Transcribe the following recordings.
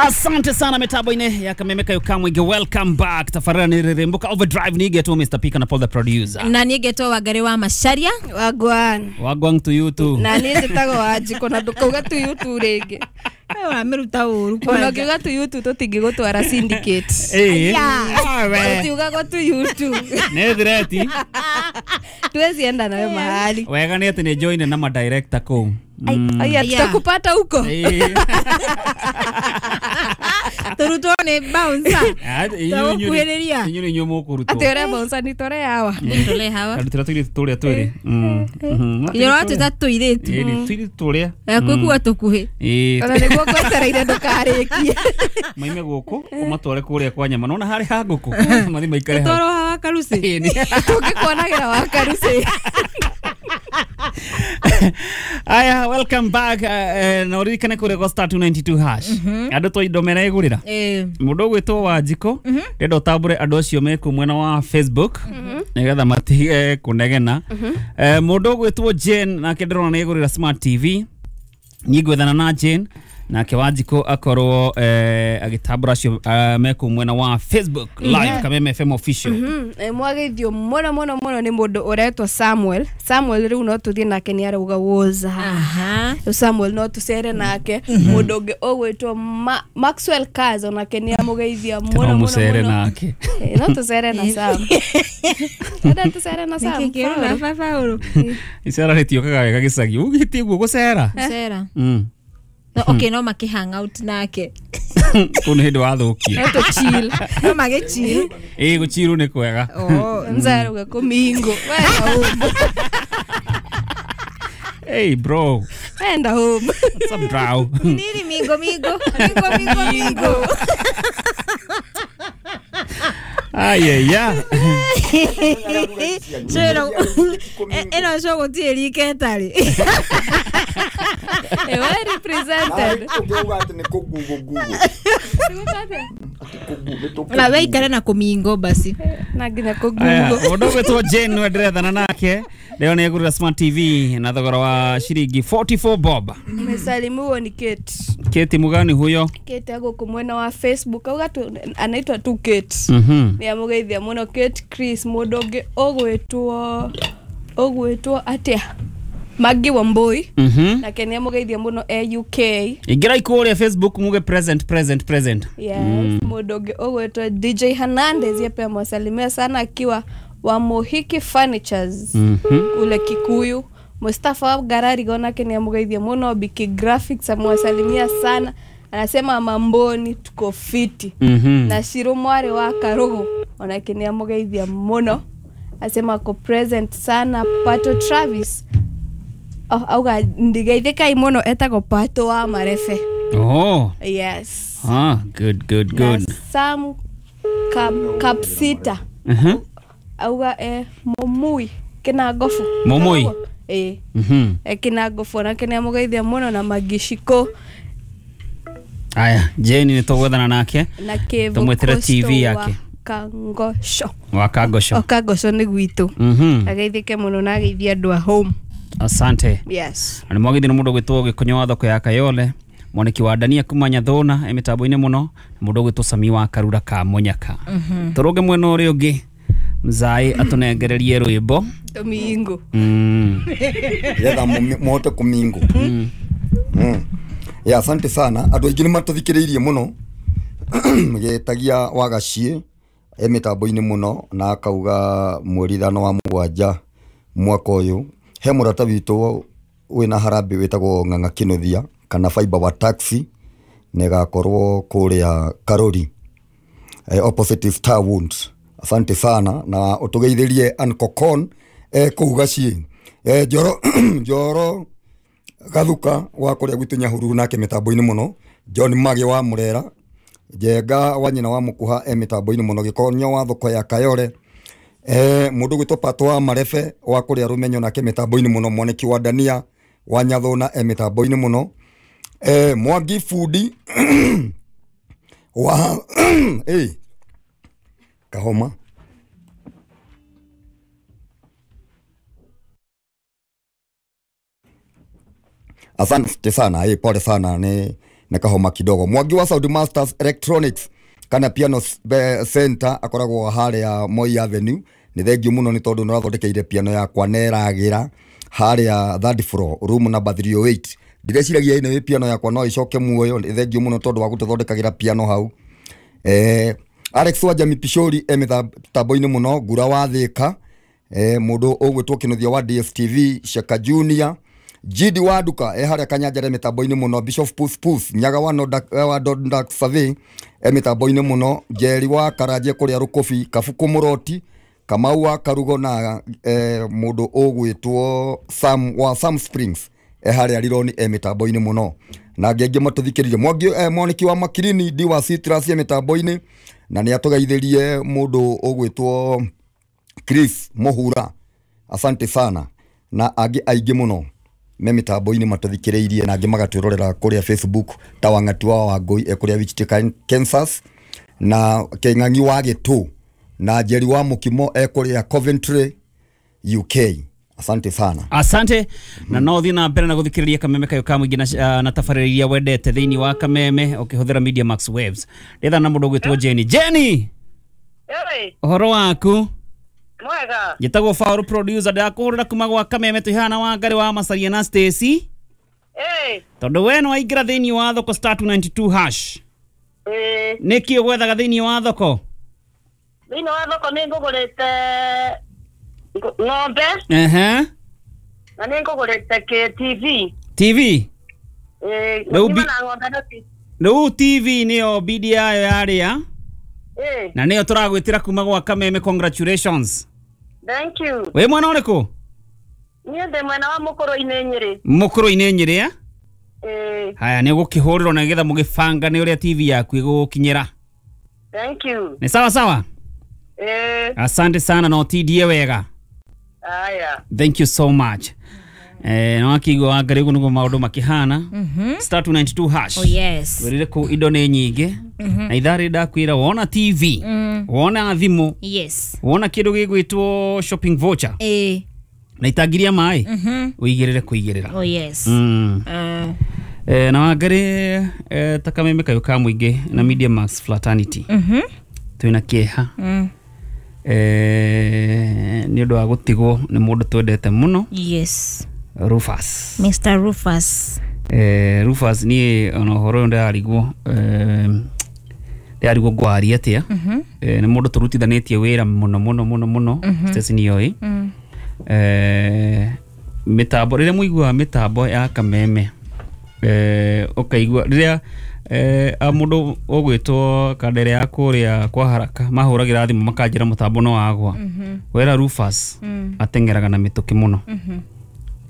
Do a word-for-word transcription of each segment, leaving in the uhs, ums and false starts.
Asante sana mitambo-inĩ ya Kameme Yukamwige. Welcome back. Tafarira ni Rirembuka Overdrive nigetwo Mister Pika na Paul the producer. Na nigetwo Wangari wa Macharia. Wagwan. Wagwan to you too. Na niĩ njĩtagwo Wanjikũ na ndũkauga to you too rĩngĩ. Ũramĩruta ũru. Ona ũngiuga to you too tũtingĩgũtwara syndicate. Eh. Tũtiugagwo to you too. Nĩ thireti. Tuwezi enda nawe mahali. Wega nĩ atĩ nĩ join na ma director kũu. Aya tutakupata huko. Turutwo nĩ bouncer. Tũkuhĩrĩria. Inyuĩ inyuĩ mũkũrutwo. Atĩ ũrĩa bouncer ni tore hawa. Tore hawa. Karutĩra tũirĩtu tũrĩa twĩrĩ. Inyuĩ ũratwĩta tũirĩtu. Ĩĩ tũirĩtu tũrĩa. Kwĩkuwa tũkuhĩ. Ĩĩ. Ona nĩguo ngwetereire ndũkarĩkie. Maime gũkũ ũmatware kũrĩa kwa nyama. Nona harĩ ha ngũkũ. Mathi maikare hau. Tũtwarwo hawa karuci. Tũngĩkuonagĩra wa karuci. Aya, welcome back. Na ũririkane kũrĩa gwa star two ninety-two hash. Andũ to indo meregũrĩra. Mũndũ ũgwĩtwo Wanjikũ ndĩrenda ũtambũre andũ acio me kũu mwena wa Facebook nĩgetha matige kũnegena. Mũndũ ũgwĩtwo Jane nake ndĩrona nĩegũrĩra Smart T V. Niĩ ngwethana na Jane nake Wanjikũ akorwo agĩtambũra acio me kũu mwena wa Facebook live Kameme F M official. Mwageithio mũno mũno mũno nĩ mũndũ ũretwo Samuel. Samuel rĩu no tũthiĩ nake nĩ arauga woza. Rĩu Samuel no tũcere nake. Mũndũ ũngĩ ũgwĩtwo Maxwell Kaz onake nĩ amũgeithia mũno mũno mũcere nake. No tũcere na Sam. Enda tũcere na Sam. Nĩkĩ kĩrona baba ũrũ? Icera rĩtiũkaga wega gĩcagi. Ugĩtie guo gũcera. Gũcera. No, okay, no maki hang out nake. Kũu nĩ hĩndĩ wathũkia. No tũ chill. No mage chill. Ĩĩ gũchill nĩ kwega. Oh, nzaruga kũmingo. Wenda home. Hey bro. Wenda home. What's up bro? Nini mingo mingo. Mingo mingo mingo. Ay ay. Cero. Eno sho gũtirĩ rika ĩtarĩ. Well represented. Na weikare na kũmingo basi. Na nginya kũgungo. Mũndũ ũgwĩtwo Jane nĩwe ndĩrethana nake. Leo nĩegũrĩra Smart T V na thogora wa shiringi forty-four bob. Msalimiwa ni Kate. Kate mugani huyo? Kate agũkũ mwena wa Facebook. Auga tu anaitwa tu Kate. Mhm. Nĩ amũgeithia mũno Kate Chris. Mũndũ ũngĩ ũgwĩtwo ũgwĩtwo atĩa? Maggie Wambui. Mhm. Nake nĩ amũgeithia mũno e U K. Ingĩra kũrĩa Facebook muge present present present. Yes, mũndũ ũngĩ ũgwĩtwo D J Hernandez yeye pia mwasalimia sana akiwa wa Mohiki Furnitures. Kule Kikuyu. Mustafa Garari nake nĩ amũgeithia mũno. Biki Graphics amwasalimia sana. Anasema mamboni tuko fiti. Na Shiro Mware wa Karugu onake nĩ amũgeithia mũno. Asema ko present sana. Pato Travis. Oh, auga ndigeithĩkai mũno etagwo Pato wa Marefe. Oh. Yes. Ah, good good good. Na Sam Kap Kapsita. Mhm. Auga eh Momui Kinagofu. Momui. Eh. Mhm. Eh Kinagofu nake nĩ amũgeithia mũno na Magishiko. Aya, Jane nĩ tũgwethana nake. Na Kevo Tũmwĩtĩre T V yake. Kangosho. Wa Kangosho. O Kangosho nĩ gwitũ. Mhm. Ageithĩke mũno na ageithia andũ a home. Asante. Yes. Na mwagithĩ nĩ mũndũ ũgwĩtwo Gĩkonyo wa thoko ya Kayole, mwaniki wa Dania kuma Nyathũna e mĩtambo-inĩ mũno, na mũndũ ũgwĩtwo Sami wa Karura ka Mũnyaka. Tũrũnge mwena ũrĩa ũngĩ mzai atũnengererie rwĩmbo. Tũmingo. Mm. Getha mũhote kũmingo. Mm. Ya asante sana. Andũ aingĩ nĩ matũthikĩrĩirie mũno. Gĩtagia Wagaciĩ e mĩtambo-inĩ mũno na akauga mweri ithano wa mũgwanja mwaka ũyũ he mũrata witũ wĩna harambĩ wĩtagwo Ng'ang'a Kĩnuthia kana Fiber wa taxi nĩgakorwo kũrĩa Karori eh, opposite Star Wounds. Asante sana na ũtũgeithĩrie Ankokon eh, kũu Gaciĩ. Eh, Njoro Njoro Gathuka wa kũrĩa gwitũ Nyahururu nake mĩtambo-inĩ mũno. John Mage wa Murera, Njenga wa nyina wa Mũkuha e mĩtambo-inĩ mũno. Gĩkonyo wa thoko ya Kayore, eh, mũndũ gwĩtwo Pato wa Marefe wa kũrĩa Rũmenyo nake mĩtambo-inĩ mũno. Mwaniki wa Dania wa Nyathũna e mĩtambo-inĩ mũno. Eh, Mwangi Fundi wa eh Kahoma. Asante sana, eh, pole sana ni na kahoma kidogo. Mwangi wa Saudi Masters Electronics kana Piano Center akoragwo haria Moi Avenue. Ni thengiũ mũno nĩ tondũ nĩũrathondekeire piano yakwa na ĩragĩra haria third floor room number three oh eight. Ndĩreciragia ĩno ĩ piano yakwa no ĩcoke muoyo. Nĩ thengiũ mũno tondũ wa gũtũthondekagĩra piano hau. Eh, Alex wa Jami Pishori e mĩtambo-inĩ mũno. Ngura wa Thĩka, eh, mũndũ ũgwĩtwo Kĩnuthia wa D S T V, Shaka Junior, G D wa Nduka e haria Kanyanjara mĩtambo-inĩ mũno. Bishop Pus Pus Nyaga wa Nodak, wa Dondak Survey e mĩtambo-inĩ mũno. Njeri wa Karanje kũrĩa Rũkũbi, Kabuku Mũroti, Kamau wa Karugo na eh, mũndũ ũgwĩtwo Sam wa Sam Springs e haria Rironi e mĩtambo-inĩ mũno. Na angĩ aingĩ matũthikĩrĩrie. Mwangi eh, Mwaniki wa Makirini D wa Citrus e mĩtambo-inĩ, na nĩ atũgeithĩrie mũndũ ũgwĩtwo Chris Mohura, asante sana. Na angĩ aingĩ mũno me mĩtambo-inĩ matũthikĩrĩirie, na angĩ magatwĩrorera kũrĩa Facebook ta Wang'ati wa Wangũi e kũrĩa Wichita Kansas, na Kĩng'ang'i wa Gĩtũ na Njeri wa Mũkimo e kũrĩa Coventry U K. Asante sana. Asante. Na no thiĩ na mbere na gũthikĩrĩria Kameme kayo ka mũingĩ na, na tabarĩra iria wendete thĩinĩ wa Kameme ũkĩhũthĩra Media Max Waves. Ndĩtha na mũndũ ũgwĩtwo Jenny. Jenny! Ĩĩ. Ũhoro waku? Mwega. Njĩtagwo Faulu producer, ndĩrakũhũrĩra kuma gwa Kameme twĩhana wa Ngarĩ wa Macaria na Stacy. Ĩĩ. Tondũ we nĩ waingĩra thĩinĩ wa thoko star two ninety two hash. Ĩĩ. Nĩkĩ ũgwethaga thĩinĩ wa thoko? Thĩinĩ wa thoko nĩ ngũgũrĩte ng'ombe. Ehe. Na nĩ ngũgũrĩte kĩ T V. T V? Ĩĩ. Rĩu na ng'ombe na T V. Rĩu T V nĩyo bidi yayo yarĩa. Ĩĩ. Na nĩyo tũragwĩtĩra kuma gwa Kameme, congratulations. Thank you. Wĩ mwena ũrĩkũ? Niĩ ndĩ mwena wa Mũkũrũ-inĩ Nyĩrĩ. Mũkũrũ-inĩ Nyĩrĩ, eh? Ĩĩ. Haya, nĩ ũgũkĩhũrĩrwo na nĩgetha mũgĩbanga nĩ ũrĩa T V yaku ĩgũgũkinyĩra. Thank you. Nĩ sawa sawa? Ĩĩ. Asante sana na ũtindie wega. Aya. Thank you so much. Eh, no akigwa Wangari ũguo nĩguo maũndũ makĩhana. Star two ninety two hash. Oh yes. Wĩrire kũu indo nĩ nyingĩ. Na ithaa rĩrĩ ndakwĩra wona T V, wona thimũ, Yes. wona kĩndũ gĩgwĩtwo shopping voucher. Ĩĩ. Na itangiria maĩ, ũigĩrĩre kũigĩrĩra. Oh yes. Mm. Uh, Eh, na Wangari eh, ta Kameme kayo ka mũingĩ na Media Max Fraternity. Mhm. Twĩna kĩeha. Mm. Eh, nĩ ũndũ wa gũtigwo nĩ mũndũ twendete mũno. Yes. Rufus. Mister Rufus. Eh, Rufus niĩ ona ũhoro ũyũ ndĩrarigwo, eh, ndĩrarigwo ngwaria atĩa. Eh, nĩ mũndũ tũrutithanĩtie wĩra mũno mũno mũno mũno. Stacy nĩoĩ. Mm. Eh, mĩtambo rĩrĩa mũiguaga mĩtambo ya Kameme, eh, ũkaigua rĩrĩa eh, a mũndũ ũgwĩtwo Kandere ya kũrĩa kwa Haraka mahũragĩra thimũ makanjĩra mũtambo no wagwa. Wera Rufus ateng'eraga na mĩtũkĩ mũno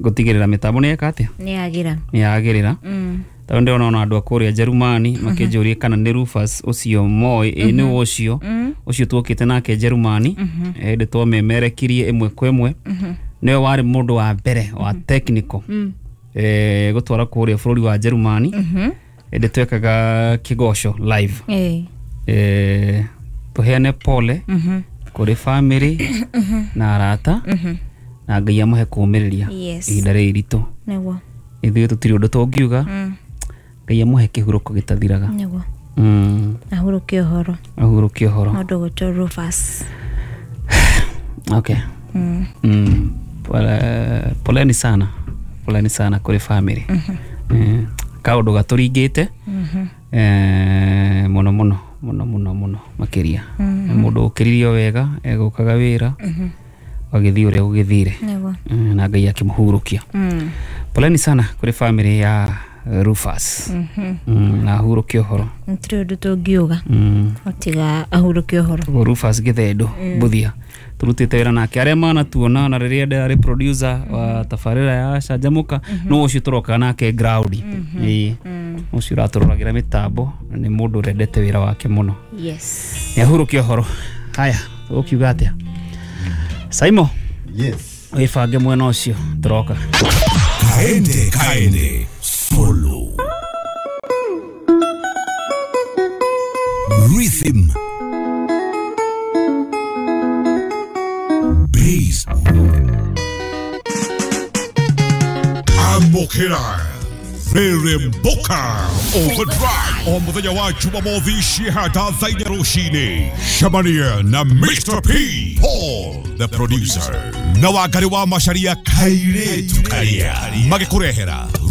gũtigĩrĩra mĩtambo nĩ yeka atĩa, Nĩ yagĩra. nĩ yagĩrĩra. Mm. Tondũ ndĩrona ona andũ a kũrĩa Njerumani makĩnjũria kana nĩ Rufus ũcio moĩ. Ĩ nĩ ũcio ũcio tuokĩte nake Njerumani, hĩndĩ twamemerekirie ĩmwe kwa ĩmwe. Nĩwe warĩ mũndũ wa mbere wa technical eh, gũtwara kũrĩa bũrũri wa Njerumani hĩndĩ twekaga kĩgoco live. Ĩĩ. Eh, tũheane pole kũrĩ family na arata, na Ngai amũhe kũũmĩrĩria Yes. ihinda rĩrĩ iritũ. Nĩguo. Ithuĩ tũtirĩ ũndũ tũngiuga. Ngai amũhe kĩhurũko gĩtathiraga. Nĩguo. Mm. Ahurũke ũhoro. Ahurũke ũhoro. Mũndũ ũgwĩtwo Rufus. Okay. Mm. Mm. Pole, poleni sana. Poleni sana kũrĩ family. Eh, kaũndũ gatũringĩte. Eh, mũno mũno mũno mũno mũno makĩria. Nĩ mũndũ ũkĩririo wega, egũkaga wĩra. Agĩthiĩ ũrĩa gũgĩthire. Nĩguo. Eh, na Ngai akĩmũhurũkia. Mm. Poleni sana kũrĩ family ya Rufus. Mm, na ahurũke ũhoro. Gũtirĩ ũndũ tũngiuga. Mm. Otiga ahurũke ũhoro. Ũguo Rufus Gĩthendũ Mbuthia tũrutĩte wĩra nake arĩa manatuona na rĩrĩa ndarĩ producer wa tabarĩra ya Canjamũka no ũcio tũrokaga nake ground. Ĩĩ. Ũcio ũratũroragĩra mĩtambo nĩ mũndũ ũrendete wĩra wake mũno. Yes. Nĩ ahurũke ũhoro. Haya, ũkiuga atĩa? Saimo. Yes. Wĩbange mwena ũcio tũroka. Kaende kaende solo. Rhythm. Bass. Amokera. Reremboka Overdrive o muthenya wa Jumamothi cihata thaa inya rũcinĩ. Cemania na Mister P Paul the producer na Wangari wa Macharia kairĩtu karia magĩkũrehera